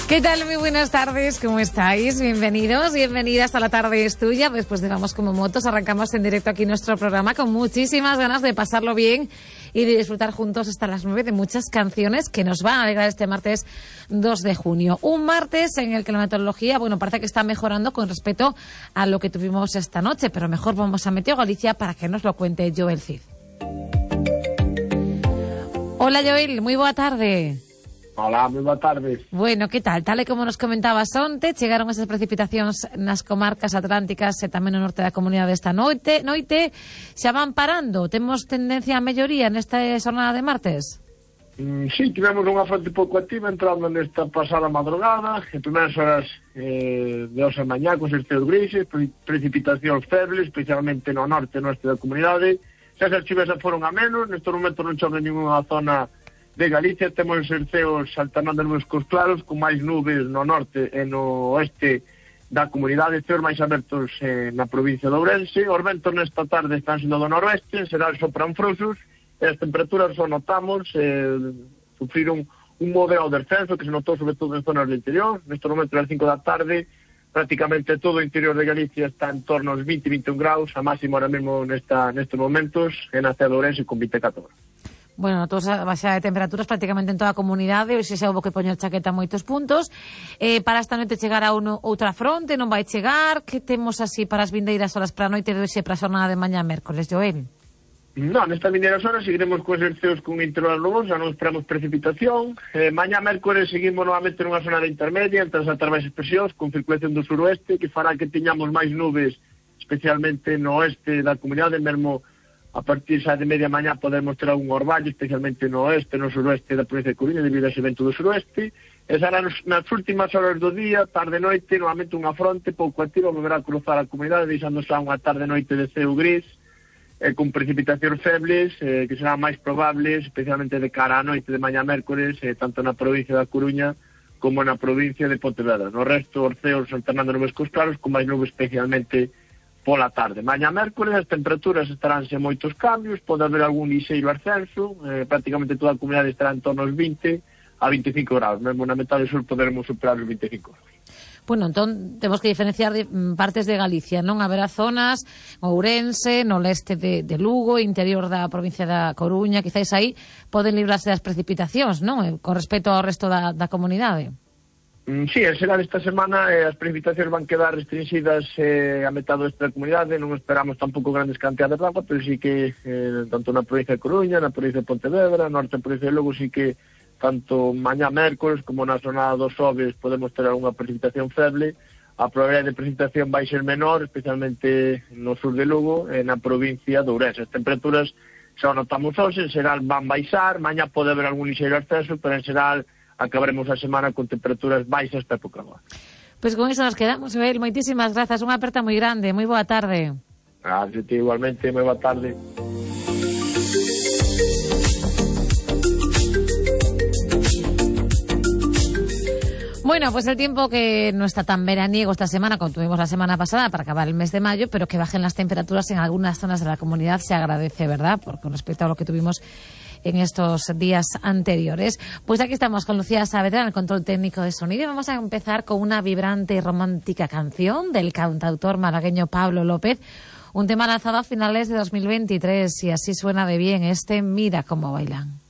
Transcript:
¿Qué tal? Muy buenas tardes, ¿cómo estáis? Bienvenidos, bienvenidas a La Tarde es Tuya. Después de Vamos como Motos, arrancamos en directo aquí nuestro programa con muchísimas ganas de pasarlo bien y de disfrutar juntos hasta las 9 de muchas canciones que nos van a alegrar este martes 2 de junio. Un martes en el que la meteorología, parece que está mejorando con respecto a lo que tuvimos esta noche, pero mejor vamos a Meteo Galicia para que nos lo cuente Joel Cid. Hola Joel, muy boa tarde. Hola, moi boa tarde. Bueno, que tal? Tal e como nos comentabas onte, chegaron esas precipitacións nas comarcas atlánticas e tamén no norte da comunidade esta noite. Xa van parando? Temos tendencia a melloría nesta xornada de martes? Sí, tivemos unha fronte pouco activa entrando nesta pasada madrugada, en primeiras horas de hoxe a mañá, con certeos grises, precipitacións febles, especialmente no norte e no oeste da comunidade. Xa as chuvas foron a menos, neste momento non chove ninguna zona de Galicia, temos cerceos alternando nubes cos claros, con máis nubes no norte e no oeste da comunidade, ceos máis abertos na provincia de Ourense. Os ventos nesta tarde están sendo do noroeste, será sopran frouxos, e as temperaturas o notamos, sufriron un moderado descenso que se notou sobre todo en zonas do interior. Neste momento, ás 5 da tarde, prácticamente todo o interior de Galicia está en torno aos 20-21 graus, a máximo ahora mesmo nestes momentos, en a cidade de Ourense con 24 graus. Bueno, toda a baixa de temperaturas prácticamente en toda a comunidade, hoxe xa houve que poñer chaqueta a moitos puntos. Para esta noite chegará outra fronte, non vai chegar? Que temos así para as vindeiras horas para a noite de hoxe para a xornada de mañá mércoles, Joel? Non, nestas vindeiras horas seguiremos con exerceos con intervalos nubosos, non esperamos precipitación. Mañá mércoles seguimos novamente nunha zona de intermedia entre as altas baixas presións con circulación do suroeste que fará que teñamos máis nubes, especialmente no oeste da comunidade, mesmo a partir xa de media mañá podemos ter algún orballo, especialmente no oeste, no suroeste da provincia de Coruña, debido a ese vento do suroeste. E será nas últimas horas do día, tarde-noite, novamente unha fronte pouco activa, volverá a cruzar a comunidade, deixando xa unha tarde-noite de ceo gris, con precipitacións febles, que serán máis probables, especialmente de cara á noite de mañá mércoles, tanto na provincia da Coruña como na provincia de Pontevedra. No resto, os ceos alternando nubes cos claros, con máis nubes especialmente pola tarde. Mañá mércoles as temperaturas estarán sen moitos cambios, pode haber algún liseiro ascenso, prácticamente toda a comunidade estará en torno aos 20 a 25 graus, mesmo na metade sur poderemos superar os 25 graus. Bueno, entón temos que diferenciar partes de Galicia, non? Haberá zonas, Ourense, no leste de Lugo, interior da provincia da Coruña, quizáis aí poden librarse das precipitacións, non? Con respecto ao resto da comunidade. Sí, será esta semana, as precipitacións van quedar restringidas a metade do oeste da comunidade, non esperamos tampouco grandes cantidades de agua, pero sí que tanto na provincia de Coruña, na provincia de Pontevedra, norte da provincia de Lugo, sí que tanto mañá mércoles como na zona dos Xoves podemos ter algunha precipitación feble. A probabilidade de precipitación vai ser menor, especialmente no sur de Lugo e na provincia de Ourense. As temperaturas xa notamos hoxe, en xeral van baixar, mañá pode haber algún ligeiro ascenso, pero en xeral acabaremos a semana con temperaturas baixas para época boa. Pois con iso nos quedamos, Joel. Moitísimas grazas, unha aperta moi grande, moi boa tarde. Gracias, igualmente, moi boa tarde. Bueno, pues el tiempo que no está tan veraniego esta semana como tuvimos la semana pasada para acabar el mes de mayo, pero que bajen las temperaturas en algunas zonas de la comunidad se agradece, ¿verdad? Porque con respecto a lo que tuvimos en estos días anteriores. Pues aquí estamos con Lucía Saavedra en el control técnico de sonido y vamos a empezar con una vibrante y romántica canción del cantautor malagueño Pablo López, un tema lanzado a finales de 2023 y así suena de bien este Mira cómo bailan.